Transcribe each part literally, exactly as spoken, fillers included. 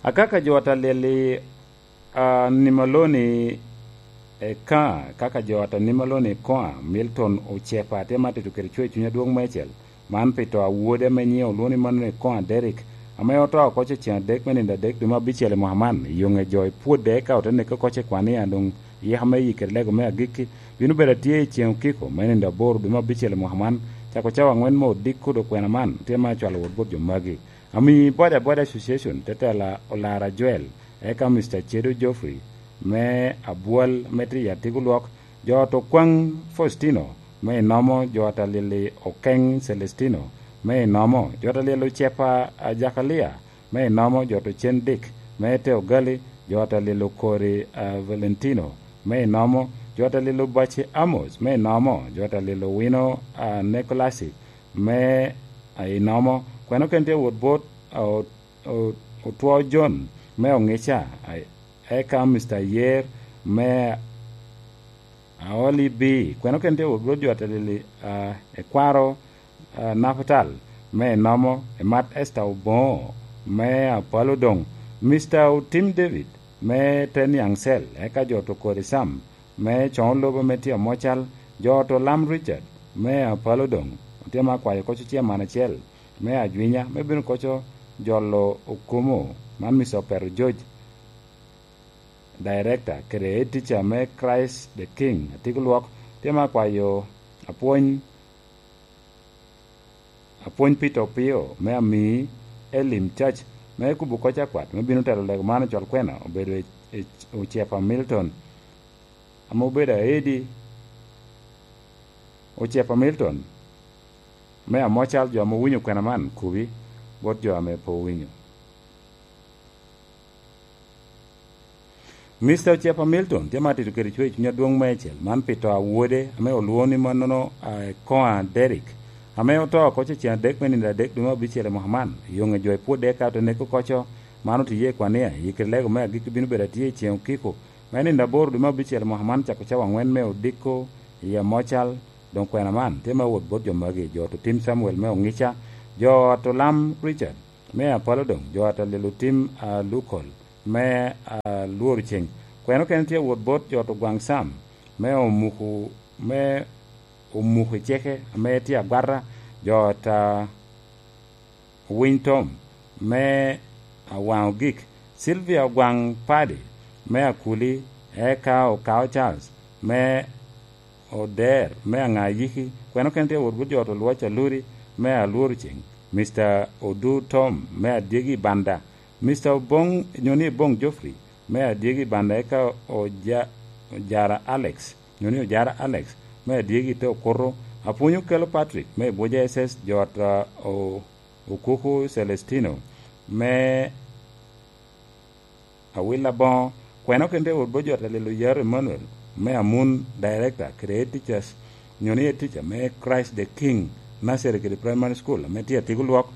Akaka jo ata lyel i, a, Nimaloni Eka, kaka jo ata Nimaloni Ekoa, Milton Ocepa, tye ma tito kede cwer i cuny adwoŋ meicel. Man pi to a wode ame nyiŋe olwoŋo ni Manuel Ekoa Derrick, ame oto oko ce ceŋ adek me nino adek dwe me abicel i mwaka man, i yoŋe jo i pwodde eka ote neke oko ce kwan ni a doŋ yeka me yikere lego me agikki bino bedo atye i ceŋ okiko me nino aboro dwe me abicel i mwaka man, cako cawa aŋwen me odiko dok kwena man tye ma acwalo wot bot jo magi. Ami Boda Boda Association, tetela Olara Joel, eka Mister Cedo Geoffrey, me Abwal, me tye i Atigo Lwok, jo ot Okwaŋ Faustino, me Inomo, jo ot Alili Okeŋ Celestino, me Inomo, jo ot Alili Ocepa, a, Jakalia, me Inomo, jo ot Ocen Dick, me Teogali, jo ot Alili Okori, a, Valentino, me Inomo, jo ot Alili Obaci Amos, me Inomo, jo ot Alili Owino, a, Nikolasi, me, a, Inomo, kweno ken tye wot bot, a, o-, o-, Otwo John me Oŋica, a, eka Mister Yer me Aoli B. Kweno ken tye wot bot jo atelili, a, Ekwaro, a, Napatal me Inomo, Emat Esther Oboŋo me Apalo Doŋ, Mister Otim David me Teniaŋ Cell, eka jo ot Okori Sam me Coŋo Lobo me tye Amocal, jo ot Olam Richard me Apalo Doŋ, otye ma akwayo koco ciaman acel me Ajwinya, me bino koco jolo okumo, man Mister Opero George, Director, kede Head Teacher me Christ the King, Atigo Lwok, tye ma akwayo apwony, apwony Peter Opio, me Amii Elim Church, me kubo koc akwat, me bino telo lego man ocwal kwena, obedo i, i Ocepa Milton, ame obedo aedi, Ocepa Milton, me Amocal, jo ame owinyo kwena man, kubi bot jo ame pe owinyo. Mister Ocepa Milton tye ma tito kede cwer i cuny adwoŋ meicel, man pi to a wode, ame olwoŋo ni mannono, a, Ekoa Derrick, ame oto oko ce ceŋ adek me nino adek dwe me abicel i mwaka man. Yoŋe jo i pwodde eka ote neko koco, man otiye i kwania, i kede lego me agikki bino bedo atye i ceŋ okiko, me nino aboro dwe me abicel i mwaka man, cako cawa aŋwen me odiko i Amocal. Doŋ kwena man tye me wot bot jo magi, jo ot Otim Samuel me Oŋica, jo ot Olam Richard me Apalo Doŋ, jo ot Alil Otim, a, Lukol me, a, Lworo Ceŋ. Kwena okene tye wot bot jo ot Ogwaŋ Sam me Omuku, me Omuku Iceke ame tye Agwata, jo ot, a, Owiny Tom me Awaŋ Ogik, Sylvia Ogwaŋ Padi me Akuli, eka Okao Charles me Oder me Aŋa Ayiki, kwena okene tye wot bot jo ot Olwac Aluri me Alworo Ceŋ, Mister Odu Tom me Adyegi Banda, Mister Oboŋ, nyo ni Oboŋ Geoffrey me Adyegi Banda, eka Oja-, Ojara Alex, nyo ni Ojara Alex me Adyegi te Okuto, Apwony Okelo Patrick me Ibuja S S, jo ot, a, o-, Okuku Celestino me Awil Aboŋo, kwena okene tye wot bot jo ot Alil Oyaro Emmanuel me Amun, Director kede Head Teachers, nyo ni Head Teacher me Christ the King Nursery kede Primary School ame tye Atigo Lwok.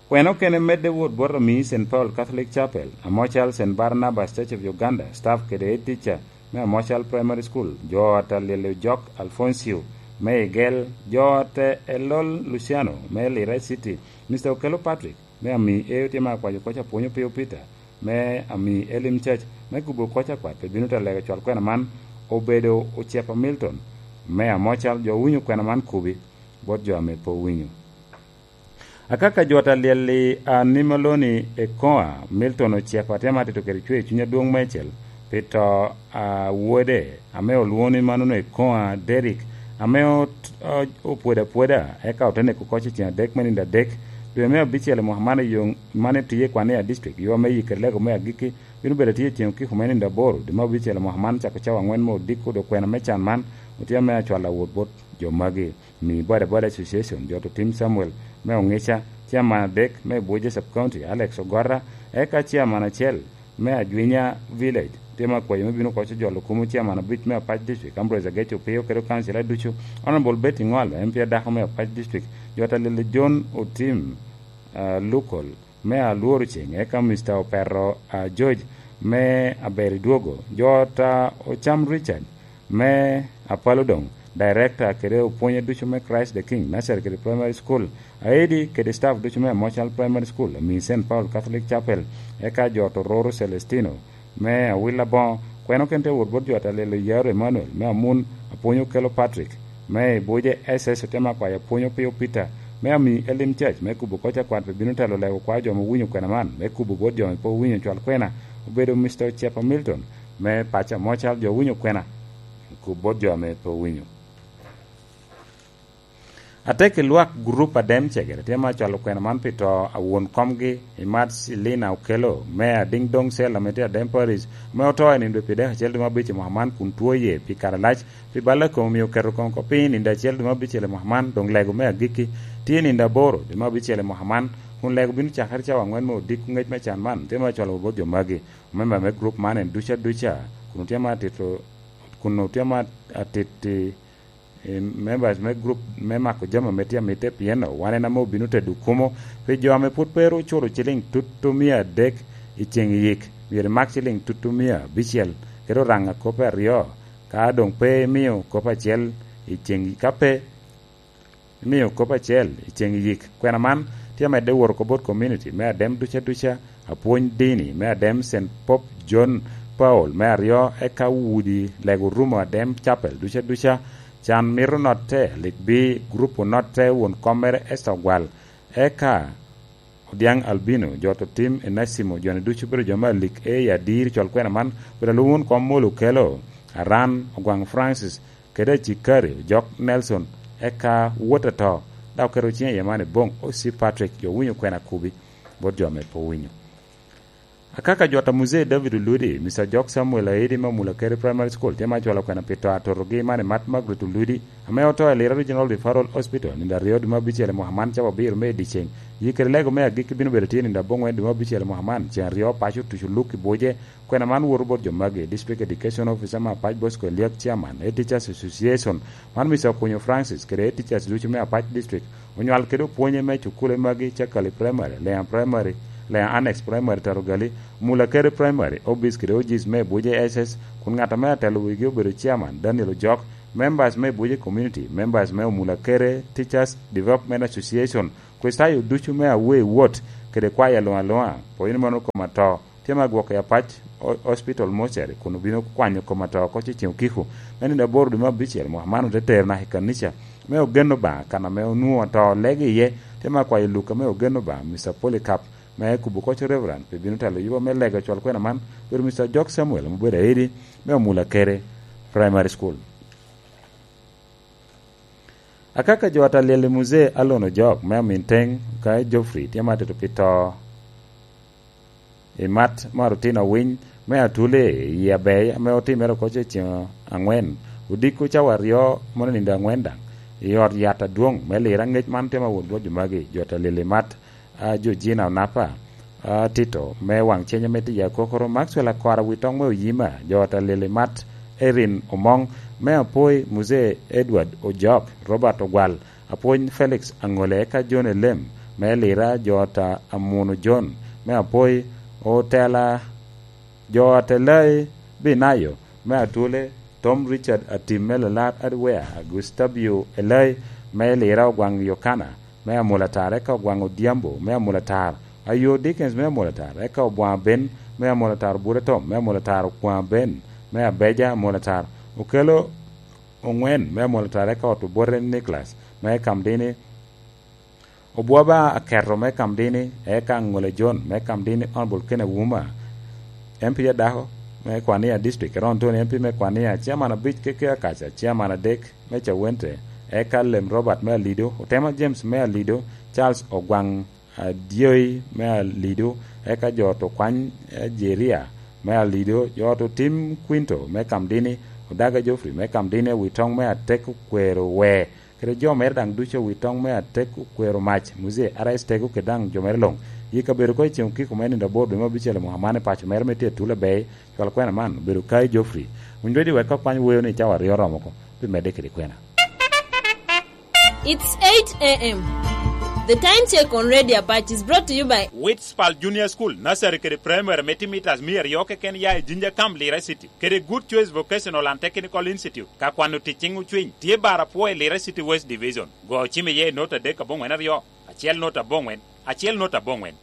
Kwena okene medde wot bot Amii Saint Paul Catholic Chapel, Amocal Saint Barnabas Church of Uganda, staff kede Head Teacher me Amocal Primary School, jo ot Alil Ojok Alfoncio me Igel, jo ot Elol Luciano me Lira City, Mister Okello Patrick me Amii Eyo tye ma akwayo koc Apwony Opio Peter me Amii Elim Church me kubo koc akwat pe bino te lego cwal kwena man, obedo Ocepa Milton me Amocal, jo owinyo kwena man kubi bot jo ame pe owinyo. Akaka jo ot Alyel i Animaloni Ekoa, Milton Ocepa tye ma tito kede cwer i cuny adwoŋ meicel pi to a wode, ame olwoŋo ni manono Ekoa Derrick, ame ot-, o-, opwodo apwoda, eka ote neko oko i ceŋ adek me nino adek, dwe me abicel i mwaka man i yo, man etiye i Kwania District, yo ame yikere lego me agikki bino bedo atye i ceŋ okiko me nino aboro, dwe me abicel i mwaka man, cako cawa aŋwen me odiko, dok kwena me can man otye ame acwalo awot bot jo magi. Mi Boda Boda Association, jo ot Otim Samuel me Oŋica, Chairman adek me Buoja Sub County, Alex Ogora, eka Chairman acel me Ajwinya Village, tye ma akwayo me bino koco jolo kumo Chairman abic me Apac District, Ambrose Ageco Opio, kede kancila ducu, Honorable Betty Ngolo, M P adako me Apac District, jo ot Alili John Otim, ah, Lukol, me Alworo Ceŋ, eka Mister Opero, ah, George me Aberi Dwogo, jo ot, ah, Ocam Richard me Apalo Doŋ, Director kede opwonye ducu me Christ the King Nursery kede Primary School, aedi kede staff ducu me Amocal Primary School, ami Saint Paul Catholic Chapel, eka jo Tororo Celestino me Awil Aboŋo, kweno ken te wot bot jo Atalelo Yaro Emmanuel me Amun, apwonyo Kelo Patrick me Ibuje S S, otema kwayo apwonyo Pio Peter me ami Elim Church me kubo koc akwat pe bino telo lego kwa jo me winyo kwena man, me kubo bot jo me pe owinyo cwal kwena, obedo Mister Ocepa Milton me paco Amocal, jo winyo kwena kub bot jo ame pe owinyo. Atek i lwak gurup Adem Cegere tye ma cwalo kwena man pi to a won komgi i mat Cilina Okelo me Adiŋ Doŋ Cel ame tye Adem Parish, ame oto i nindo pi dek acel dwe me abic i mwaka man kun two ye pi kare alac pi balla kom omio oketo kom oko piny i nindo acel dwe me abicel i mwaka man, doŋ lego me agikki tye i nindo aboro dwe me abicel i mwaka man, kun lego bino cakere cawa aŋwen me odiko. Ŋec me can man tye ma cwalo bot jo magi. Memba me gurup man en duca duca kun otye ma atito, kun otye ma atiti, eh, members me gurup me mako jami ame tye amitte, pien wan en ame obino tedo kumo pi jo ame pwod pe ru oculo ciliŋ tutu mia adek i ceŋ yik. Myero imak ciliŋ tutu mia abicel, kede oraŋ a kop aryo, ka doŋ pe imio kop acel i ceŋ, ka pe imio kop acel i ceŋ yik. Kwena man tye amedde wot oko bot komuniti me Adem duca duca, apwony dini me Adem Saint Pope John Paul me aryo, eka udi lego rumo Adem Chapel duca duca. Can mito notte, lik bi gurup onotte, won kom mere Esther Ogwal, eka Odiaŋ Albino, jo to tim Enacimo, jo-ni ducu obedo jo me alik, e i adir cwal kwena man, obedo alwom won kom Molo Okelo, Aran, Ogwaŋ Francis, kede Acikari, Ojok Nelson, eka wot ato, dok oketo ciŋe iye man i boŋ O C Patrick, jo winyo kwena kubi bot jo ame pe owinyo. Akaka jot a Muzee David Oludi, Mister Jok Samuel Aidi me Omula Keri Primary School, tye ma cwalo kwena pi to atotogi man i mat Margaret Oludi, ame oto i Lira Regional Referral Hospital nindo aryo dwe me abicel i mwaka man cawa abiro me i dyeceŋ. Yi kede lego me agikki bino bedo tye nindo aboŋwen dwe me abicel i mwaka man, ceŋ aryo paco otuco luk i buce. Kwena man woto bot jo magi: District Education Officer me Apac Bosco Eliak, Chairman, Head Teachers Association, man Mister Okunyo Francis, kede Head Teachers ducu me Apac District, onywal kede opwonye me cukule magi: Cakali Primary, Leŋa Primary, Leŋa Annex Primary, Tarogali, Mula Kere Primary, Obis kede Ojis me Ebuje S S, kun ŋat ame atelo wigi obedo Chairman Daniel Ojok, members me Ebuje Community, members me Omula Kere Teachers Development Association, Kricitayo ducu me Awei Wot, kede kwaya luŋ aluŋa, pwony mano kom ato, tye me agwoko i Apac o-, Hospital Mortuary, kun obino kwanyo kom ato oko ceŋ okiko me nino aboro dwe me abicel. Mwaka man ote tero naka i kanica me Ogen Obaŋa, kan ame onwoŋo ato lege iye, tye me akwayo Luka me Ogen Obaŋa, Mister Polycarp, me kubo koc Reverend, pe bino telo yuba me lega cwal kwena man, obedo Mister Jok Samuel, ame obedo aidi me Omula Kere Primary School. Akaka jo Atalyel i Muzee Alon Ojok me Aminteng ka Geoffrey tye ma atito pi to i mat me Arutino Winy me Atuli i Abei, ame otimere oko ce ceŋ aŋwen, odiko cawa aryo mono nindo aŋwen daŋ, i ot yat adwoŋ me Lira. Ŋec man tye ma won dwoc magi, jo Atalyel i mat a Georgina Onapa, a Tito me Waŋ Ceny ame tye i Akokoro, Maxwell Akora Witoŋ me Oyima, jo Atalili Mat, Erin Omoŋ me Apoi, Muzee Edward Ojok, Robert Ogwal, Apwony Felix Aŋole, eka John Elem me Lira, jo ata Amuno John me Apoi, Otela, jo Atelai Binayo me Atule, Tom Richard Atim me Lalar Adwea, Gustavio Elai me Lira, Ogwaŋ Yokana me Amolatar, eka Ogwaŋ Odhiambo me Amolatar, Ayo Dickens me Amolatar, eka Obwaŋ Ben me Amolatar, Bura Tom me Amolatar, Okwaŋ Ben me Abeja Amolatar, Okelo Oŋwen me Amolatar, eka Ot Obote Nicholas me Kamdini, Obwaba Aketo me Kamdini, eka Aŋole John me Kamdini, Honorable Ken Awuma, M P adako me Kwania District, Eron Tony M P me Kwania, Chairman abic Keke Akaca, Chairman adek me Cawente, eka Lem Robert me Alido, Otema James me Alido, Charles Ogwaŋ Adyoi me Alido, eka jo Otokwany, eh, Jeria me Alido, jo Ototim Quinto me Kamdini, Odaga Geoffrey me Kamdini, Awitoŋ me Atek Okwero Wee, kede jo mere daŋ ducu, Awitoŋ me Atek Okwero Mac, Muzee R S Tego, kede daŋ jo mere luŋ. Yi kabedo ko i ceŋ okiko me nino aboro dwe me abicel i mwaka man i paco mere me tye Atula Bay, cwal kwena man obedo Kai Geoffrey. Winy dwedi wek ka kwany woyo ni cawa aryo oromo oko, pi medde kede kwena. It's eight a m. The Time Check on Radio Apache is brought to you by Witspal Junior School, Nursery kede Primary me timitas mia aryo keken ya i Jinja Camp, Lira City, kede Good Choice Vocational and Technical Institute, ka kwano tic ciŋ ocwiny, tye bar apwo i Lira City West Division. Go cim iye i nota adek aboŋwen aryo, acel nota aboŋwen, acel nota aboŋwen.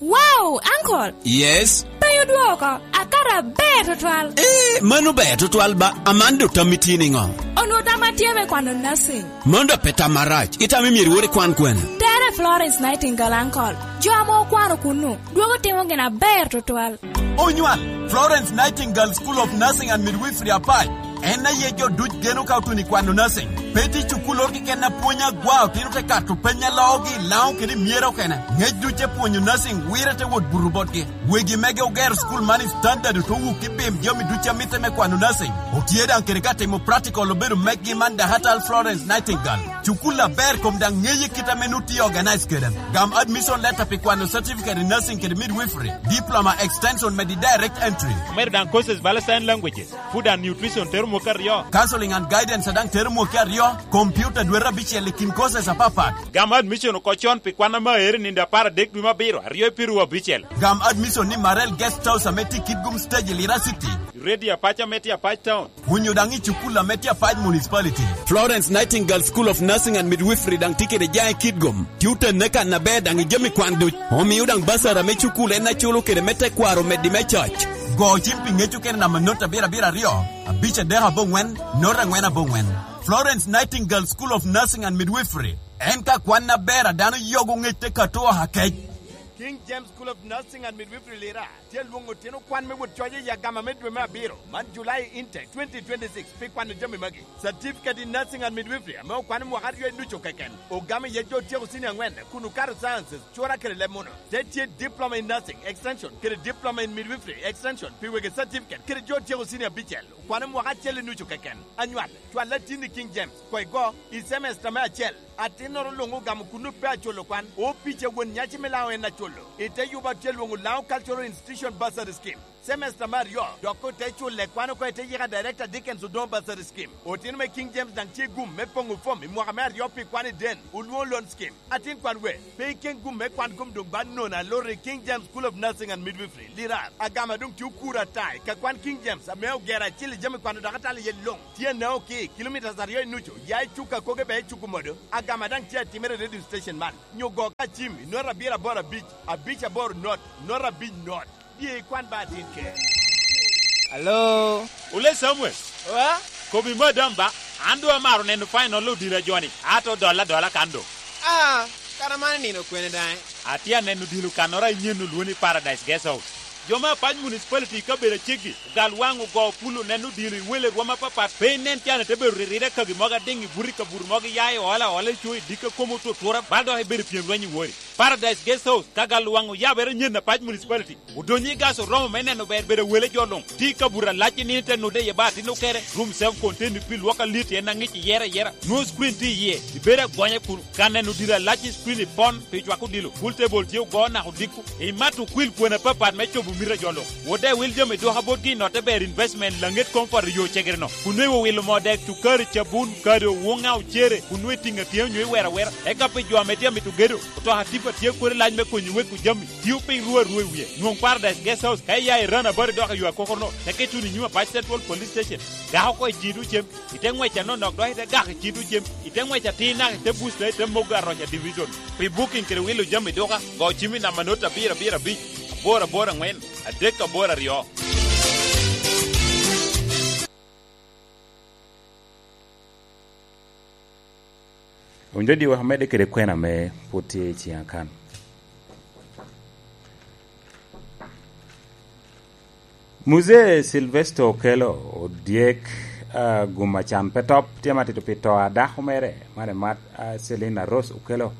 Wow, uncle! Yes? Pe odwoko, akato aber tutwal. Eh, mano ber tutwal ba, Amanda otammi tye niŋo? Onwoŋo tam atye me kwano nursing. Mano dok pe tam marac, itamo myero iwor ikwan kwene? Tere Florence Nightingale, uncle. Jo ame okwano kunnu, dwogo timo gin aber tutwal. Onywal, Florence Nightingale School of Nursing and Midwifery Apac. En aye jo duc geno ka otuno i kwano nursing. Pe tye cukul oro keken a pwony agwa, otino te kato peny a loogi i Laŋo kede i myero okene. Ŋec duc te pwonyo nursing wire te wot buto botgi. Wegi mege ogero cukul man i standard, ote wuki bim jami duc a mitte me kwano nursing. Otye daŋ kede ka timo practical obedo meggi man Dahatal Florence Nightingale. Cukul aber kom daŋ ŋeye kit ame nut tye organize kede. Gam admission letter pi kwano certificate in nursing kede midwifery, diploma extension medi direct entry. Omedo daŋ courses bala sign languages, food and nutrition tero mwaka aryo. Counseling and guidance daŋ tero mwaka aryo, computer dwete abicel i kin courses apapat. Gam admission oko con pi kwan ame aere nindo apar adek dwe me abiro, aryo i piru abicel. Gam admission ni Marel Guest House ame tye i Kitgum Stage i Lira City. Radio Apac ame tye Apac Town. Onyo daŋ i cukul ame tye Apac Municipality. Florence Nightingale School of Nursing and Midwifery daŋ tye kede jaŋ i Kitgum. Tye otenne kan aber daŋ i jami kwan duc. Omio daŋ basara me cukul en aculo kede me tekwaro meddi me coc. Go cim pi ŋec okene namba not abiro abiro aryo, abic adek aboŋwen, not aŋwen aboŋwen. Florence Nightingale School of Nursing and Midwifery. En ka kwan aber a dano yogo ŋec te kato oha kec. King James School of Nursing and Midwifery Lira tye lwoŋo otino kwan me wot coc i agama me dwe me abiro man, July intake twenty twenty-six, pi kwano jami magi: Certificate in Nursing and Midwifery ame okwano mwaka aryo i nucu keken, ogamo iye jo otyeko senior aŋwen kun okato sciences, cura kede leb muno. Te tye Diploma in Nursing Extension kede Diploma in Midwifery Extension pi wegi certificate kede jo otyeko senior abicel, okwano mwaka acel i nucu keken. Anywal, cwal atin i King James, koŋ igo i semester me acel. Atinnoro luŋ ogamo kunnu pe aculo kwan, opic a won nyaci me Laŋo en aculo. I te yubo atye lwoŋo Laŋo Cultural Institution Bursary Scheme. Semester me aryo, dok ote culle kwan oko i te yika Director Dickens Odongo Bursary Scheme. Otino me King James daŋ tye gum me poŋo fom i mwaka me aryo pi kwan i den, olwoŋo Loan Scheme. Atin kwan we, pe iken gum me kwan gum doŋ ba nono aloro i King James School of Nursing and Midwifery, Lirar, agama doŋ tye okuro ata i ka kwan King James ame ogero acil i jami kwano dok atalo iye luŋ. Tye anaŋo ki kilomitas aryo i nucu, ya i cuk akoge bea i cuk omodo, agama daŋ tye atimere i radio station man. Nyo go ka cim i not abiro aboro abic, abic aboro not, not abic not. Dye ikwan ba atin ke. Alo? Ole Samuel. Wa? Kobi madam ba, an doŋ amaro neno final odilo a joni, ato dolla adola kan doŋ. Ah, kara man nino kwene daŋ? Atye aneno odilo kannoro a inyen olwoni Paradise Guest House. Jo me Apac Municipality i kabedo aceggi, ogal waŋ ogo pulo neno odilo i wele rwom apapat, pe inen can ite bedo riride kagi mogo adiŋ i buto i kabuto mogo, iya i ola ola i co i dikka komo otutura, bal dok ibedo i pyem lweny i wori. Paradise Guest House, ka gal waŋ oyabere nyen Apac Municipality, odonyo i gas oromo me neno ber bedo wele jo luŋ. Tye i kabuto alac i nino te nude iye ba atin okere, room self contained pi lwok alit en aŋic iyere ayera. Nwoŋo screen tye iye, ibedo agonya kun ka neno odilo alac i screen i pon pi cwako odilo. Pool table tye ogo naka odiko. Imato okwil kwena apapat me cobo mito a jo luŋ. Wode wil jami duka botgi i notte ber investment laŋet comfort i yo cegere-no. Kun nwoŋo iwilo moo dek, cukari, cabun, kado, woŋa, ocere, kun nwoŋo itiŋo atiŋa onyo iwero awera. Eka pi jo ame tye amito gedo, otoka tipa tye kodi lac me konyo weko jami. Tio piny ruu arua i wie. Nwoŋ Paradise Guest House ka iya i Rana Bari dok i yo akokoro-no, teke ituno i nyim Apac Central Police Station. Gako oko i ciŋ tucem, ite ŋwec anonok dok ite gako i ciŋ tucem, ite ŋwec atir naka ite busta ite mogo aroca division. Pi booking kede wilo jami duka, go cim i namba not abiro abiro abic, aboro aboro aŋwen, adek aboro aryo. Owinjo diwa, amedde kede kwena ame pwod tye i ciŋa kan. Muzee Silvester Okello odyek, ah, gum acan pe top, tye matito pi to a dako mere, mane mat, ah, Selina Rose Okello,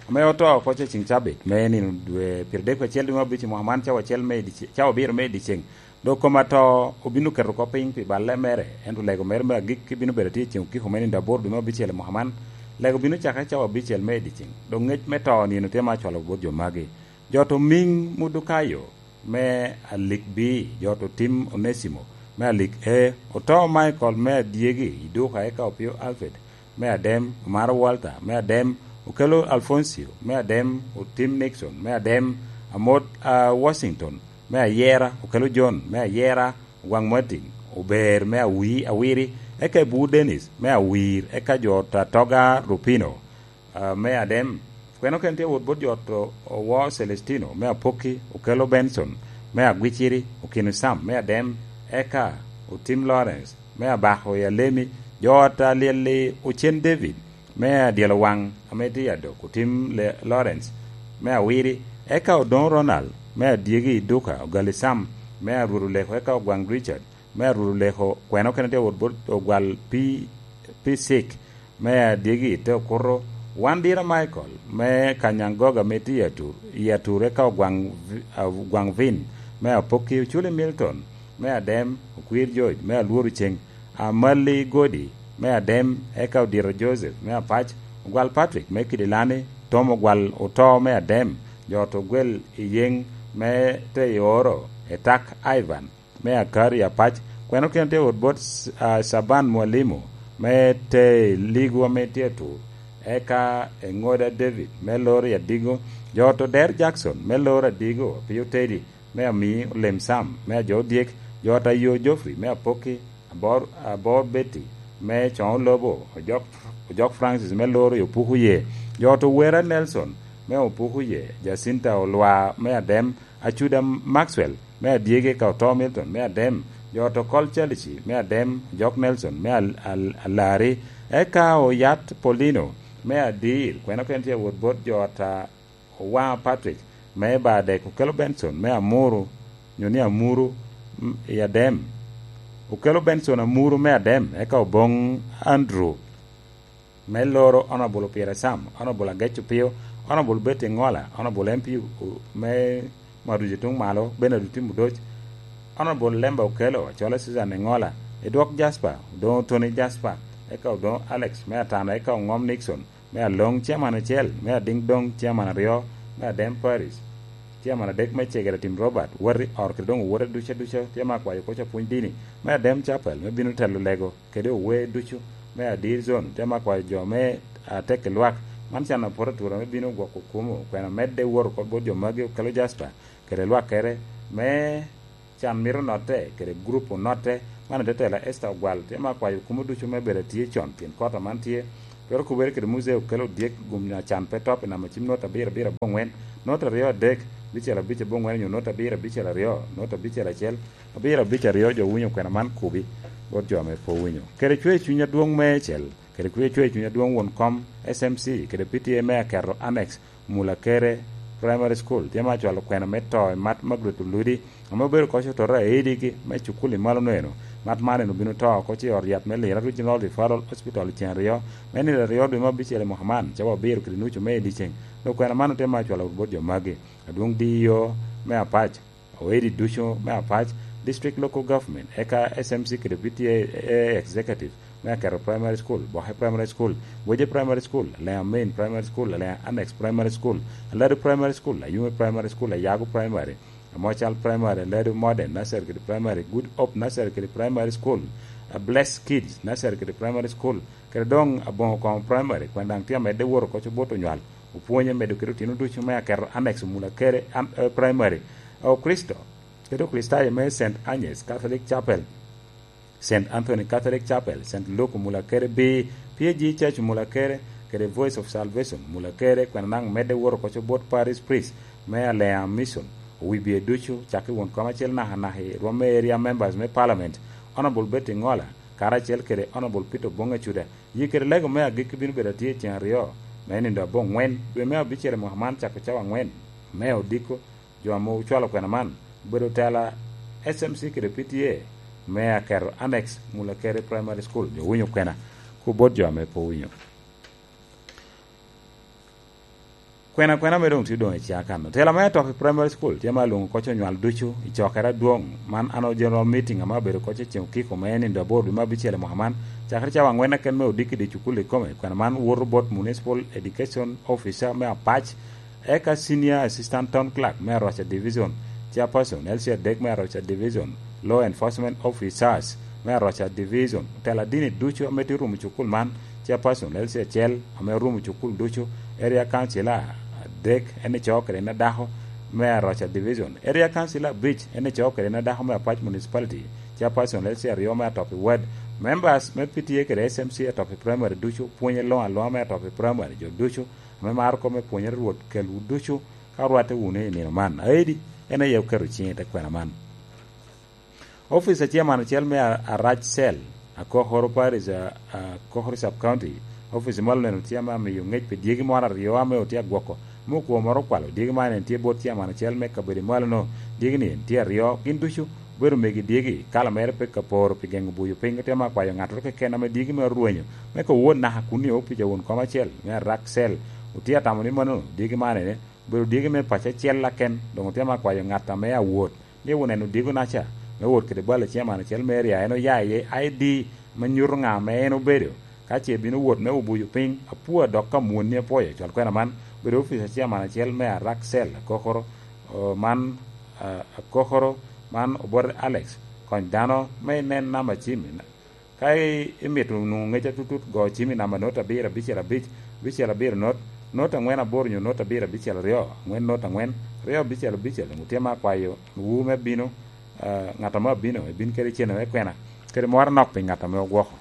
ame oto oko ce ciŋ cabit me nino dwe pyeradek acel dwe me abic i mwaka man, cawa acel me i dice-, cawa abiro me i dyeceŋ. Dok kom ato obino keto oko piny pi balle mere, ento lego mere me agikki bino bedo atye i ceŋ okiko me nino aboro dwe me abicel i mwaka man. Lego bino cakere cawa abicel me i dyeceŋ. Dok ŋec me to nino tye ma acwalo bot jo magi. Jo to Ming Mudukayo me Alik B, jo to Tim Onesimo me Alik A, oto Michael me Adyegi i duka, eka Opio Alfred me Adem, Omaro Walter, me Adem, Okello Alfoncio, me Adem, Otim Nixon, me Adem, Amot, a, Washington, me Ayera, Okello John, me Ayera, Ogwaŋ Martin, Ober, me Awi-, Awiri, eka Ebu Dennis, me Awir, eka jo ot a Toga Rupino, a, me Adem. Kweno kene tye wot bot jo ot o-, Owo Celestino, me Apokki, Okello Benson, me Agwiciri, Okino Sam, me Adem, eka Otim Lawrence, me Abako i Alemi, jo ot a Lyelli Ocen David, me Adyelo Waŋ, ame tye i Adok, Otim Le-, Lawrence, me Awiri, eka Odoŋo Ronald, me Adyegi i Duka, Ogali Sam, me Arwot Oleko, eka Ogwaŋ Richard, me Arwot Oleko, kweno kene tye wot bot Ogwal P-, P six, me Adyegi i te Okuto, Wandira Michael, me Kanyaŋ Goga ame tye i Atur, i Atur eka Ogwaŋ Vi-, a, Ogwaŋ Vin, me Apokki, Oculi Milton, me Adem, Okwir George, me Alworo Ceŋ, Amali Godi, me Adem, eka Odito Joseph, me Apac, Ogwal Patrick, me Kidilani, Tom Ogwal Oto, me Adem, jo ot Ogwel i Yeŋ, me te i Oro, Etak Ivan, me Akari Apac, kweno kene tye wot bot, a, Caban Mwalimu, me te i Ligo ame tye Atur, eka Eŋoda David, me Lori Adigo, jo ot Oder Jackson, me Lori Adigo, Apio Teddy, me Ami Olem Sam, me Ajo Odyek, jo ot Ayo Geoffrey, me Apokki, Abor, Abor Betty, me Coŋo Lobo, Ojok, Ojok Francis, me Lori Opuku Ye, jo ot Owera Nelson, me Opuku Ye, Jacinta Olwa, me Adem, Acuda Maxwell, me Adyegi, eka Oto Milton, me Adem, jo ot Okol Calici, me Adem, Ojok Nelson, me Al-, Al-, Alari, eka Oyat Paulino, me Adir, kweno kene tye wot bot jo ot a Owaŋa Patrick, me Badek, Okello Benson, me Amuru, nyo ni Amuru, m-, i Adem, Okello Benson Amuru, me Adem, eka Oboŋ Andrew, me Loro, Honorable Opira Sam, Honorable Agec Opio, Honorable Betty Ŋola, Honorable M P u-, me Marujo Tuŋ Malo, Bernard Otim Odoc, Honorable Lemba Okello, Acola Susan Eŋola, Edwok Jasper, Odoŋo Tony Jasper, eka Odoŋo Alex, me Atano, eka Oŋom Nixon, me Aloŋ, Chairman acel, me Adiŋ Doŋ, Chairman aryo, me Adem Parish, Chairman adek, me Cegere Tim Robert, Wati Or, kede doŋ owote ducu aduca, tye me akwayo koc apwony dini, me Adem Chapel, me bino telo lego, kede owe ducu, me Adir Zone, tye me akwayo jo me atek i lwak, man can apoto atura me bino gwoko kumo, kwena medde wot oko bot jo magi, Okello Jasper, kede lwakkere, me can mito notte, kede gurup onotte, man etetela Esther Ogwal, tye me akwayo kumo ducu me bedo atye con, pien kota man tye, twero kubere kede Muzee Okello Odyek, gum nyo acan pe top i namba cim nota abiro abiro aboŋwen, nota aryo adek, abicel abic aboŋwen, nyo nota abiro abicel aryo, nota abicel acel, abiro abic aryo, jo winyo kwena man kubi, bot jo ame pe owinyo. Kede cwer cuny adwoŋ me cel, kede kwer cwer cuny adwoŋ won kom S M C, kede P T A me aketo annex, Mulakere Primary School, tye me acwalo kwena me to i Mat Margaret Oludi, ame obedo koc otoro aidigi me cukul i malo neno. Mat man en obino to oko ci i ot yat me Lira Regional Referral Hospital i ceng aryo, me nino aryo dwe me abicel i mwaka man, cawa abiro kede nucu me i dyeceng. Dok kwena man otye me acwalo bot jo magi, adwoŋ D E O me Apac, oedi ducu me Apac, District Local Government, eka S M C kede P T A Executive me Aketo Primary School, Boke Primary School, Weje Primary School, Alea Main Primary School, Alea Annex Primary School, Aladu Primary School, Ayume Primary School, Ayago Primary, Amocal Primary, Aladu Modern Nursery kede Primary, Good Hope Nursery kede Primary School, a Bless Kids Nursery kede Primary School, kede doŋ Aboŋo Koŋo Primary, kwena daŋ tye amedde wot oko bot onywal, opwonye medo kede otino ducu me aketo annex Mulakere an-, eh, Primary. O Kristo, kede Okricitayo me Saint Agnes Catholic Chapel, Saint Anthony Catholic Chapel, Saint Luke Mulakere B, P A G Church Mulakere, kede Voice of Salvation Mulakere, kwena daŋ medde wot oko bot Parish Priest me Alea Mission, owibie ducu, cakki won kom acel naka naka i rwom me area members me Parliament, Honorable Betty Ŋola, karacel kede Honorable Peter Oboŋ Acuda. Yie kede lego me agikki bino bedo atye i ceng aryo, me nindo aboŋwen, dwe me abicel i mwaka man, cako cawa aŋwen, me odiko. Jo ame ocwalo kwena man obedo tela S M C kede P T A me aketo annex Mulakere Primary School, jo winyo kwena, ku bot jo ame pe owinyo. Kwena kwena me doŋ tye doŋ i caa kan. Tela me Atoki Primary School tye ma alwoŋo koc onywal ducu i cokere adwoŋ, man annual general meeting ame abedo koc i ceng okiko me nindo aboro dwe me abicel i mwaka man, cakere cawa aŋwen keken me odiki di cukul ikome. Kwena man woto bot Municipal Education Officer me Apac, eka Senior Assistant Town Clerk me Aroca Division, Chairperson L C adek me Aroca Division, Law Enforcement Officers me Aroca Division, otela dini ducu ame tye rumo cukul man, Chairperson L C acel ame orumo cukul ducu, Area Council adek en ico kede en adako me Aroca Division, Area Council abic en ico kede en adako me Apac Municipality, Chairperson L C aryo me Atopi Ward, members me P T A kede S M C Atopi Primary ducu, pwonye luŋ aluŋa me Atopi Primary, jo ducu ame maro kop me pwonyere Rwot kelwu ducu ka orwatte wunu i nino man. Aedi en aye oketo ciŋe i te kwena man. Office a Chairman acel me A-, Arac Cell, Akokoro Parish, a, a, Akokoro Sub County, office malo neno tye ame amiyo ngec pi dyegi moro aryo ame otye agwoko, me okwo moro okwalo dyegi man en tye bot Chairman acel me kabedo malo-nu. Dyegi-ni en tye aryo, gin ducu obedo megi dyegi, kala mere pe ka poro pi geŋo buyo piny, otye ame akwayo ŋattoro keken ame dyegi me orwenyo, me ka owot naka kun nio pica won kom acel me Arac Cell. Otye atamo ni mano dyegi man ene obedo dyegi me paco acel aken, doŋ otye ame akwayo ŋat ame awot ni wun en odyegonaca me wot kede bal acel man acel me area, en oya iye I D me nyuto ŋa ame en obedo. Ka ce bino wot me obuyo piny, apua dok ka mwonni apwoyo cwal kwena man, bedo ofica acel man acel me Arac Cell Akokoro, o, man, a, Akokoro, man obote Alex, kony dano me inen namba cim. Ka i-, imito nwoŋo ŋec atutut, go cim i namba not abiro abicel abic, abicel abiro not, not aŋwen aboro nyo not abiro abicel aryo, aŋwen not aŋwen, aryo abicel abicel. Doŋ otye ame akwayo wu me bino, ah, ŋat ame abino, ebin kede cene me kwena, kede moro anok pi ŋat ame ogwoko.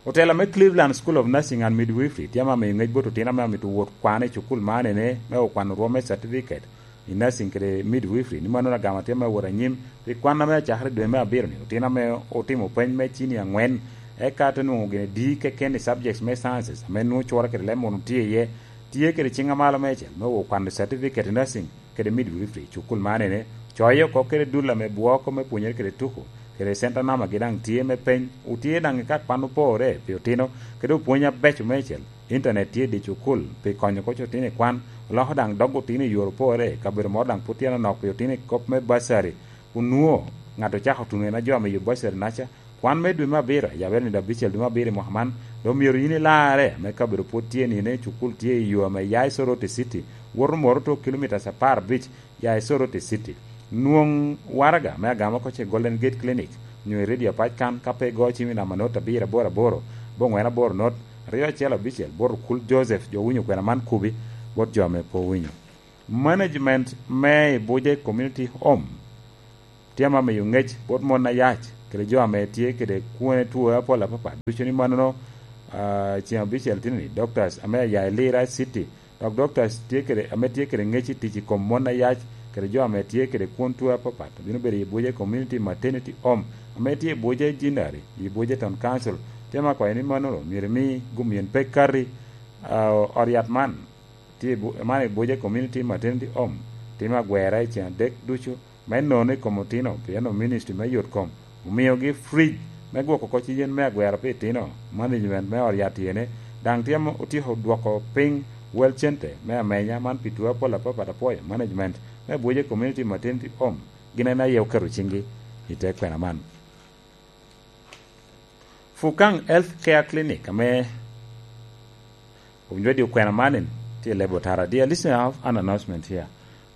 Otela me Cleveland School of Nursing and Midwifery tye ame amiyo ŋec bot otino ame amito wot kwan i cukul man ene me okwano rwom me certificate i nursing kede midwifery, ni mano agama tye me wot anyim pi kwan ame acakere dwe me abiro-ni. Otino ame otimo peny me cini aŋwen, eka te nwoŋo gin adi keken i subjects me sciences ame nwoŋo cure kede leb munu tye iye, tye kede ciŋ amalo meicel me wot kwano certificate i nursing kede midwifery i cukul man ene, coyo oko kede dul ame bwoko me pwonyere kede tuko, kede center number gi daŋ tye me peny, otye daŋ i ka kwan opore pi otino, kede opwony abeco meicel. Internet tye i dye cukul pi konyo koc otino i kwan, oloko daŋ dog otino i yore opore, kabedo moro daŋ pwod tye anonok pi otino i kop me bursary, kun nwoŋo ŋat ocako tuno en a jo ame yubo bursary naca, kwan me dwe me abiro, yabere nino abicel dwe me abiro i mwaka man, dok myero yin ilarre, ame kabedo pwod tye nino, cukul tye i yo ame ya i Soroti City, woto Moroto kilomitas apar abic, ya i Soroti City. Nwoŋ waraga me agama oko ce Golden Gate Clinic, nyo i Radio Apac kan, ka pe igo cim i namba not abiro aboro aboro, bongwen aboro not, aryo acel abicel, bot okul Joseph, jo winyo kwena man kubi, bot jo ame pe owinyo. Management me Ibuje Community Home tye ame amiyo ŋec bot mon ayac, kede jo ame tye kede kwone two apol apapat, ducu ni manono, ah, ceŋ abicel tini, doctors ame aya i Lira City, dok doctors tye kede, ame tye kede ŋec i tic i kom mon ayac, kede jo ame tye kede kwon two apapat, bino bedo i Ibuje Community Maternity Home, ame tye i Ibuje Jinari, i Ibuje Town Council. Tye ame akwayo ni manono myero imi gum yen pe kati, ah, ot yat man, tye i Bu-, man i Ibuje Community Maternity Home, timo agwera i ceŋ adek ducu, me nono i kom otino, pien o ministry me yot kom omiogi fridge me gwoko koc yen me agwera pi itino, management me ot yat iyene, daŋ tye ame otyeko dwoko piny wel cente me amenya man pi two apol apapat. Apwoyo management me Ibuje Community Maternity Home, gin en aye oketo ciŋgi i te kwena man. Fukang Health Care Clinic, ame owinyo di okwena man, tye i lebo tara. Dear listener, I have an announcement here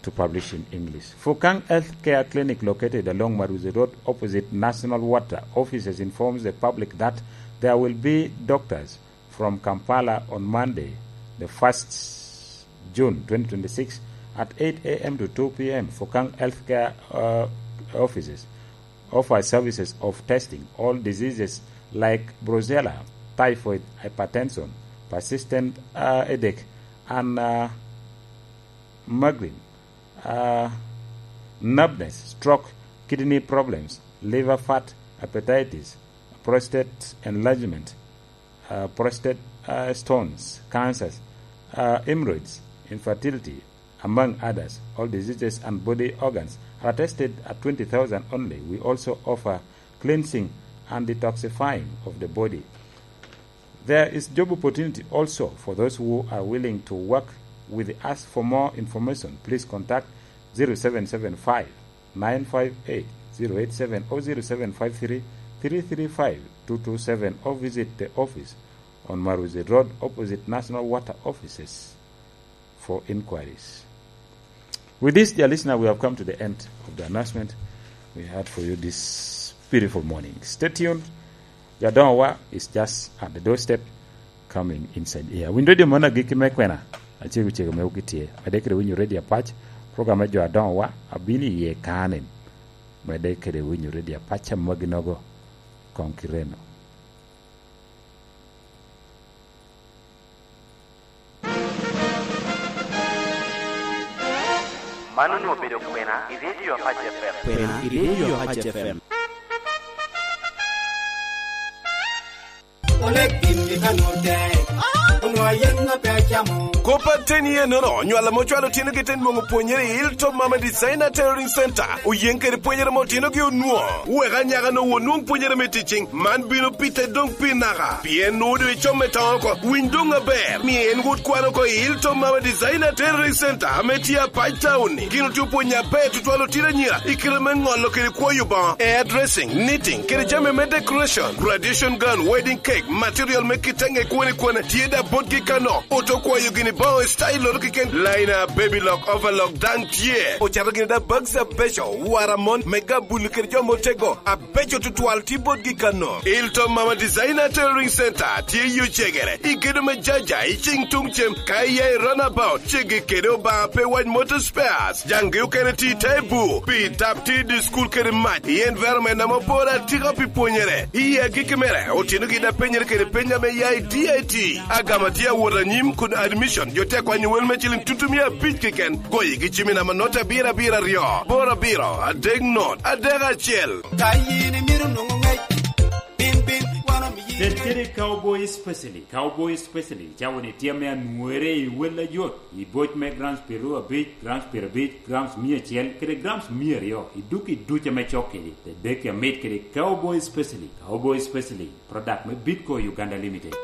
to publish in English. Fukang Health Care Clinic, located along Maruzi Road, opposite National Water Offices, informs the public that there will be doctors from Kampala on Monday, the first June twenty twenty-six, at eight A M to two P M. Fukang Healthcare, uh, offices offer services of testing all diseases like brucella, typhoid, hypertension, persistent, uh, headache, and, uh, migraine, uh, numbness, stroke, kidney problems, liver fat, hepatitis, prostate enlargement, uh, prostate, uh, stones, cancers, uh, hemorrhoids, infertility, among others. All diseases and body organs are tested at twenty thousand only. We also offer cleansing and detoxifying of the body. There is job opportunity also for those who are willing to work with us. For more information, please contact zero seven seven five, nine five eight, zero eight seven or zero seven five three, three three five, two two seven, or visit the office on Maruzi Road, opposite National Water Offices, for inquiries. With this, dear listener, we have come to the end of the announcement. We had for you this beautiful morning. Stay tuned. Your Don Wa is just at the doorstep, coming inside here. Window de mona giki me kwena. Achego chego me wuki tye. Medde kede winyo Radio Apac. Program me jo Adon Wa abino iye kanen. Medde kede winyo Radio Apac amagi nogo. Kong kireno. Man onwoŋo obedo kwena i Radio Apac F M. Kwena i Radio Apac F M. Oleg gin i kanute, onwoŋo ayen ŋa pe acamo. Kop aten i enono, nywal ame ocwalo otinogi te nwoŋo pwonyere i Hilltop Mama Designer Tailoring Center, oyeŋ kede pwonyere ame otinogi onwoŋo. Wek anyaka-nu onwoŋ pwonyere me ticing, man bino pite doŋ pi naka. Pien nwoŋo doŋ icom me toŋo oko, winy doŋ aber. Mio en wot kwan oko i Hilltop Mama Designer Tailoring Center ame tye Apac Town-ni. Gin otye opwonyo aber tutwal otino anyira i kite me ŋolo kede kwoyo boŋo, hairdressing, knitting, kede jami me decoration, graduation gown, wedding cake, material me kitenge kwone kwone tye da botgi kano. Oto kwayo gini boŋo i style-loto keken, liner, baby lock, overlock daŋ tye. Ocato gini da bags abeco, wara mon, me gabulu kede jo motego. Beco tutwal tye botgi kano. Hilltop Mama Designer Tailoring Center tye i Ocegere, i gedo me Jaja, i cing tuŋ cem, ka iya i runabout, ceggi kede Obaŋa pe wac Motor Spares. Jaŋgi okene tye i Taibu, pi tap tye i dye school kede mac, i environment ame opore atika pi pwonyere. I agikki mere, otinogi da penyere kede peny ame ya i D I T. Agama tye awot anyim kun admission, jo tye akwanyo wel me ciliŋ tutu mia abic keken. Goyigi cim i namba not abiro abiro aryo, boro abiro, adek not, adek acel. Ka yin imito nwoŋo ŋec, bin, bin, wan omiyi. Tel kede Cowboy Specialist. Cowboy Specialist cawa-ni tye ame anwore i wel ayot, i boc me grams pyeraryo abic, grams pyerabic, grams mia acel, kede grams mia aryo, i duk i duc ame cok kedi. Tel deki amit kede Cowboy Specialist. Cowboy Specialist, product me Bitco Uganda Limited.